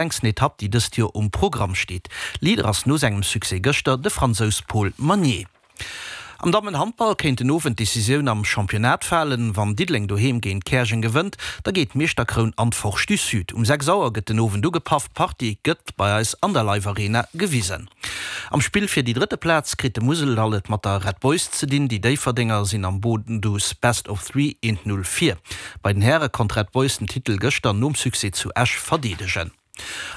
Längsten Etapp, déi dëst Joer um Programm steet. Leader ass no sengem Succès gëschter de Fransous Paul Magnier. Am Dammenhandball kéint den Owend d'Decisioun am Championnat falen. Wann Diddeleng doheem géint Käerjeng gewënnt, da geet d'Meeschterkroun an d'Forge du Sud. Um 6 Auer gëtt den Owend ugepaff, d'Partie gëtt bei eis an der Live Arena gewisen. Am Spill fir déi drëtte Plaz kritt de Museldall et mat der Red Boys ze dinn. Déi Déifferdenger sinn am Bodendus Best of Three 1, 0 vir. Bei den Häre konnt Red Boys den Titel gëschter nom Succès zu Esch verdeedegen.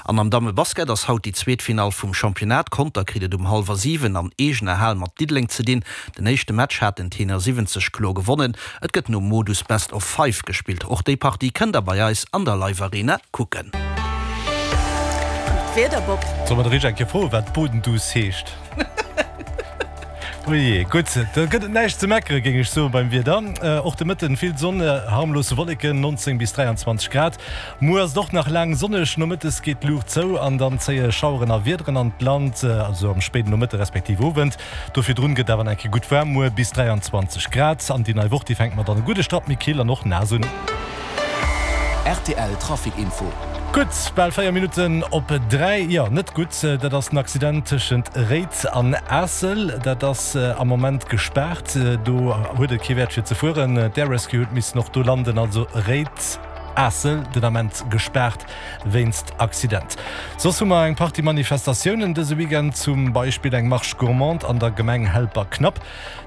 An am Dammebasket ass haut déi zweet Finall vum Championnat. Conter kritt et um hallwer 7 an eegener Hal mat Diddeleng ze dinn. Den éischte Match haten d'Tenor 70 kloer gewonnen. Et gëtt nom Modus Best of Five gespillt. Och déi Partie kënnt der bei eis an der Live Arena kucken. An d'Wieder, Bob? Soll mer de Rich eng Kéier froen, wat Bodendus heescht? Ojee, gutt, do gëtt et näischt ze meckere géing ech soen beim Wieder. Och de Mëtten vill Sonn, harmlos Wolleken, 19 bis 23 Grad. Muer ass et och nach laang sonneg, nomëttes geet d'Luucht zou an dann zéie Schaueren a Wiederen an d'Land, also am spéiden Nomëtte respektiv Owend. Do virdrun gëtt awer nach eng Kéier gutt waarm, muer bis 23 Grad. An déi nei Woch, déi fänkt mat an e gudde Strapp méi kill an och naass un. Rtl Trafic Info. Gutt, bal 4 Minutten op 3. Jo, net gutt, dat ass den Accident tëschent Réid an Aassel. Dat ass am Moment gespaart. Do huet et kee Wäert fir ze fueren. D'Air Rescue huet missen och do landen. Also Réid, Aassel den Ament gespaart wéinst Accident. Soss hu mer eng Partie Manifestatiounen dëse Weekend, zum Beispill eng Marche gourmande an der Gemeng Helperknapp.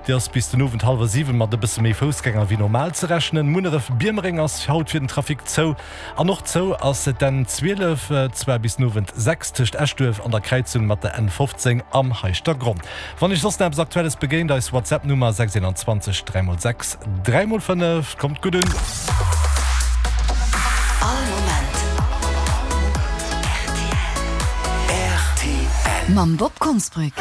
Déi ass bis den Owend hallwer 7 mat e bësse méi Foussgänger wéi normal ze rechnen. Munneref-Biermereng ass haut fir den Trafic zou an och zou ass d'N 12, zwar bis den Owend 6 tëscht Eschduerf an der Kräizung mat der N 15 am Heischtergronn. Wann iech soss nach eppes Aktuelles begéint, eis WhatsApp-Nummer 621 3x6 3x5. Kommt gutt un! All Moment rtl. Mam Bob Konsbrück.